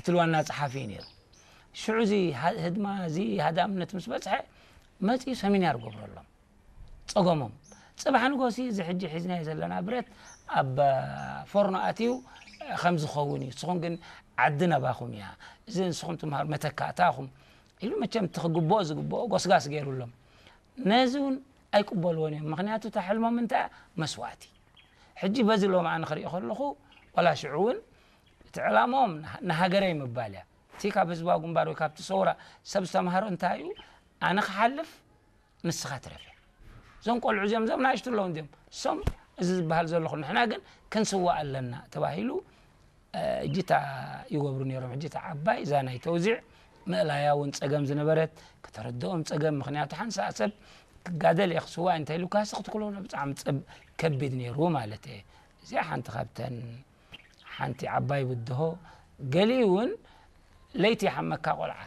እቲ ዋና ጸሓፊ እዩ ነይሩ። ሽዑ እዚ ሃ- ህድማ እዚ ሃዳምነት ምስ በጽሐ መጺኡ ሰሚናር ገብረሎም ጸገሞም። ጽባሕ ንጎሲ እዚ ሕጂ ሒዝናዮ ዘለና ብረት ኣብ ፎርኖ ኣትዩ ከም ዝኸውን እዩ። ንስኹም ግን ዓዲ ናባኹም እያ። እዚ ንስኹም ትምሃሩ መተካእታኹም ኢሉ መቸም እቲ ክግብኦ ዝግብኦ ጎስጋስ ገይሩሎም። ነዚ እውን ኣይቅበልዎን እዮም። ምኽንያቱ እታ ሕልሞም እንታይ እያ? መስዋእቲ። ሕጂ በዚ ሎሚ ኣነ ክሪኦ ከለኹ ዋላ ሽዑ እውን እቲ ዕላማኦም ንሃ- ንሃገረይ ምባል እያ። እቲ ካብ ህዝባዊ ግንባር ወይ ካብቲ ሰውራ ሰብ ዝተምሃሮ እንታይ እዩ? ኣነ ክሓልፍ ንስኻ ትረፍ እያ። እዞም ቆልዑ እዚኦም እዞም ንኣሽቱ ኣለዉ እንዲኦም እሶም እዚ ዝበሃል ዘለኹ ንሕና ግን ክንስዋእ ኣለና ተባሂሉ እጅታ ይገብሩ ነይሮም። ሕጂ እታ ዓባይ እዛ ናይ ተውዚዕ ምእላያ እውን ጸገም ዝነበረት ከተረድኦም ጸገም። ምኽንያቱ ሓንሳእ ሰብ ክጋደል እየ ክስዋእ እንተ ኢሉካ ስኽ ትክሎ ብጣዕሚ ጸብ ከቢድ ነይሩ ማለት እየ። እዚኣ ሓንቲ ካብተን ሓንቲ ዓባይ ብድሆ። ገሊኡ እውን ለይቲ ይሓመካ ቆልዓ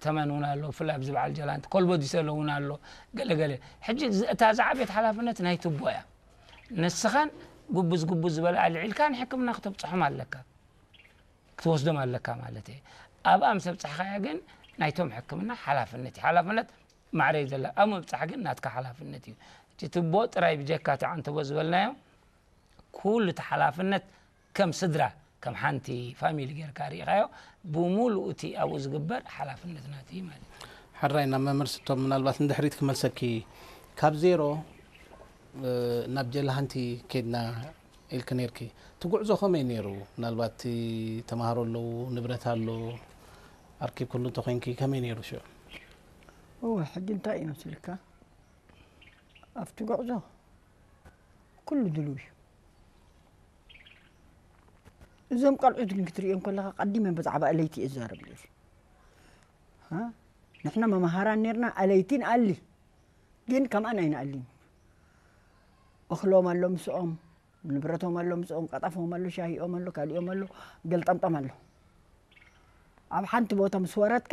ተመን እውን ኣሎ። ብፍላይ ኣብዚ በዓል ጀላንቲ ኮልቦ ዲሰሎ እውን ኣሎ። ገለገለ ሕጂ እዚ- እታ ዝዓበየት ሓላፍነት ናይ ትቦ እያ። ንስኻን ጉብዝ ጉብዝ ዝበለ ኣልዒልካ ንሕክምና ክተብፅሖም ኣለካ ክትወስዶም ኣለካ ማለት እየ። ኣብኣ ምስ ኣብፃሕካያ ግን ናይቶም ሕክምና ሓላፍነት እዩ። ሓላፍነት ማዕረ እዩ ዘላ ኣብ ምብፃሕ ግን ናትካ ሓላፍነት እዩ። እቲ ትቦ ጥራይ ብጀካ እቲ ዓንተቦ ዝበልናዮ ኩሉ እቲ ሓላፍነት ከም ስድራ ከም ሓንቲ ፋሚሊ ጌርካ ርኢኻዮ ብሙሉኡ እቲ ኣብኡ ዝግበር ሓላፍነት ናት እዩ ማለት እዩ። ሕራይ ናብ መምህር ስቶም ምናልባት ንድሕሪት ክመልሰኪ ካብ ዜሮ ናብ ጀላሃንቲ ኬድና ኢልክ ነርኪ እቲ ጉዕዞ ከመይ ነይሩ? ምናልባት ተማሃሮ ኣለዉ ንብረት ኣሎ ኣርኪብ ኩሉ እንተኮይንኪ ከመይ ነይሩ ሽዑ? እወ ሕጂ እንታይ እዩ መስልካ ኣብቲ ጉዕዞ ኩሉ ድልው እዩ። እዞም ቆልዑት ግን ክትሪኦም ከለኻ ቀዲመ ብዛዕባ ኣለይቲ እዛረብ ነይሩ። ንሕና መምሃራን ነርና ኣለይቲ ንኣሊ ግን ከምኣን ኣይንኣሊን። እኽሎም ኣሎ ምስኦም፣ ንብረቶም ኣሎ ምስኦም፣ ቀጠፎም ኣሎ፣ ሻሂኦም ኣሎ፣ ካሊኦም ኣሎ፣ ገልጠምጠም ኣሎ። ኣብ ሓንቲ ቦታ ምስ ወረድካ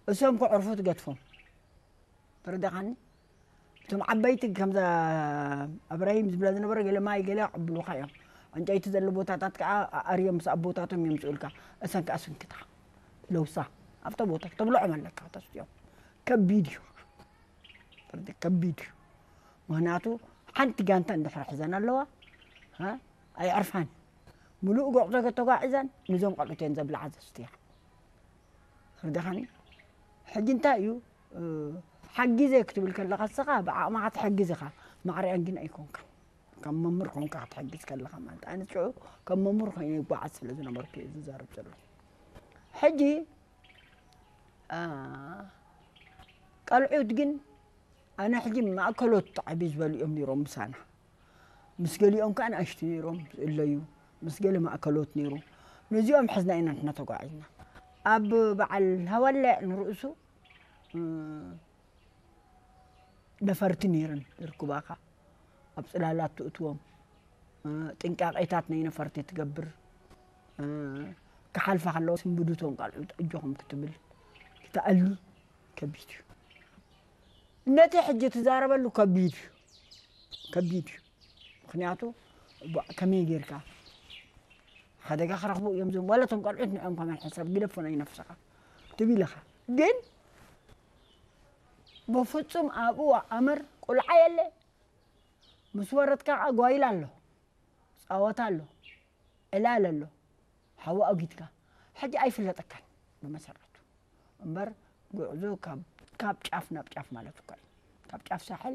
እሶም ክዕርፉ ትገድፎም። ተረዳኻኒ? እቶም ዓበይቲ ከምዛ ኣብራሂም ዝብላ ዝነበረ ገለ ማይ ገለ ይቕብሉኻ እዮም። ዕንጨይቲ ዘሎ ቦታታት ከዓ ኣርዮም ምስ ኣቦታቶም የምፅኡልካ። እሰን ከዓ ስንክታ ለውሳ ኣብተ ቦታ ተብልዖም ኣለካ ተስትዮም። ከቢድ እዩ። ተረዲ? ከቢድ እዩ። ምክንያቱ ሓንቲ ጋንታ እንድሕር ሒዘን ኣለዋ ኣይዕርፋን። ሙሉእ ጎዕዞ ተጓዒዘን ንዞም ቆልዑት እየን ዘብልዓ ዘስትያ። ተረዲኻኒ? ሕጂ እንታይ እዩ ሓጊዘ ክትብል ከለኻ ንስኻ ብዓቕምኻ ትሕግዝ ኢኻ፣ ማዕሪኣን ግን ኣይኮንካን። ከም መምህር ኮንካ ክትሕግዝ ከለኻ ማለት ኣነ ሽዑ ከም መምህር ኮይነ ይጓዓዝ ስለ ዝነበርኩ እዩ ዝዛረብ ዘለኹ። ሕጂ ቀልዑት ግን ኣነ ሕጂ ማእከሎት ዓብዩ ዝበሉ እዮም ነይሮም ምሳና። ምስ ገሊኦም ከዓ ንኣሽቱ ነይሮም ዝእለዩ፣ ምስ ገለ ማእከሎት ነይሩ። ነዚኦም ሕዝና ኢና ንሕና ተጓዒዝና። ኣብ በዓል ሃዋለ ንርእሱ ነፈርቲ ነይረን ዝርክባኻ ኣብ ፅላላት ትእትዎም ጥንቃቄታት ናይ ነፈርቲ ትገብር ክሓልፋ ከለዎ ስንብድቶም ቃልዑ ኣጆኹም ክትብል ክትኣሊ ከቢድ እዩ። ነቲ ሕጂ ትዛረበሉ ከቢድ እዩ ከቢድ እዩ። ምክንያቱ ከመይ ጌርካ ሓደጋ ክረኽቡ እዮም ዞም ዋላ ቶም ቆልዑት ንዕኦም ከመን ሕሰብ ግደፎ ናይ ነፍስኻ ትብል ኢኻ። ግን ብፍፁም ኣብኡ ኣምር ቁልዓ የለ ምስ ወረድካ ከዓ ጓይላ ኣሎ ፃወታ ኣሎ ዕላል ኣሎ ሓዊ ኣጊድካ ሕጂ ኣይፍለጠካን ብመሰረቱ እምበር ጉዕዞ ካብ ጫፍ ናብ ጫፍ ማለት እኳ እዩ። ካብ ጫፍ ሳሕል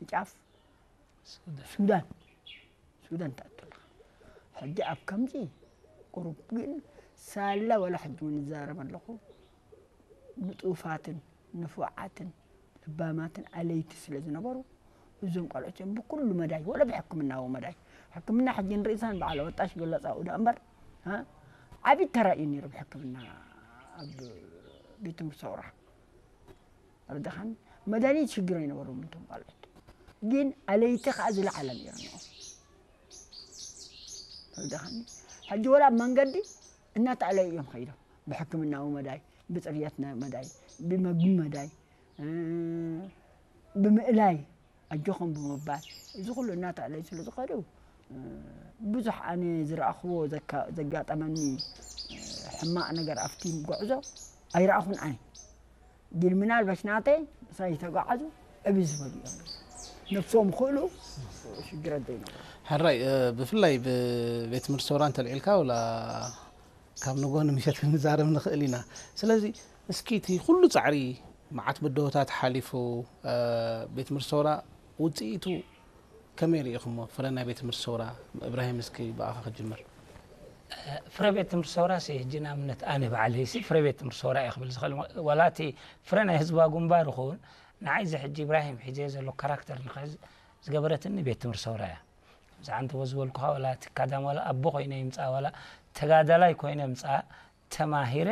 ንጫፍ ሱዳን ሱዳን ትኣቱ ኣለኻ። ሕጂ ኣብ ከምዚ ቁሩብ ግን ሳላ ዋላ ሕጂ እውን ይዛረብ ኣለኹ ንጡፋትን ንፉዓትን ለባማትን ኣለይቲ ስለ ዝነበሩ እዞም ቆልዑት እዮም ብኩሉ መዳይ ወላ ብሕክምናዊ መዳይ ሕክምና ሕጂ ንርእሳን በዓል ወጣሽ ገለፃኡ ዳ እምበር ዓብዪ ተራ እዩ ነይሩ ብሕክምና ኣብ ቤት ትምህርቲ ሰውራ ረዳኻን መድሃኒት ሽግር ኣይነበሮም እቶም ቆልዑት ግን ኣለይቲ ከዓ ዝለዓለ ነይሩ ንኦም ረዳኻኒ ሕጂ ወላ ኣብ መንገዲ እናተኣለዩ እዮም ከይዶም ብሕክምናዊ መዳይ ብፅርየት መዳይ ብመግቢ መዳይ ብምእላይ ኣጆኹም ብምባል እዚ ኩሉ እናተኣለዩ ስለ ዝኸዱ ብዙሕ ኣነ ዝረኣኽዎ ዘጋጠመኒ ሕማቕ ነገር ኣብቲ ጉዕዞ ኣይረኣኹን ኣነ። ግን ምናልባሽ ናተይ ምሳይ ዝተጓዓዙ ዕብይ ዝበሉ እዮም። ነብሶም ክእሉ ሽግረት ዘይነበሩ። ሕራይ ብፍላይ ብቤት ትምህርቲ ሰውራ እንተልዒልካ ወላ ካብ ንጎ ንምሸት ክንዛረብ ንኽእል ኢና። ስለዚ እስኪ እቲ ኩሉ ፃዕሪ መዓት ብድሆታት ሓሊፉ ቤት ትምህርቲ ሰውራ ውፅኢቱ ከመይ ርኢኹሞ? ፍረ ናይ ቤት ትምህርቲ ሰውራ እብራሂም እስኪ ብኣኻ ክጅምር። ፍረ ቤት ትምህርቲ ሰውራ ሲ ሕጂ ንኣብነት ኣነ ባዕለይ ሲ ፍረ ቤት ትምህርቲ ሰውራ እየ ክብል ዝኽእል። ዋላ እቲ ፍረ ናይ ህዝባዊ ግንባር ይኹን ንዓይ እዚ ሕጂ እብራሂም ሒዘ ዘሎ ካራክተር ንኽሕዝ ዝገበረትኒ ቤት ትምህርቲ ሰውራ እያ። ብዛዕባ እንተ ዝበልኩኻ ዋላ እቲ ካዳም ዋላ ኣቦ ኮይነ ይምፃእ ዋላ ተጋዳላይ ኮይነ ምፃእ ተማሂረ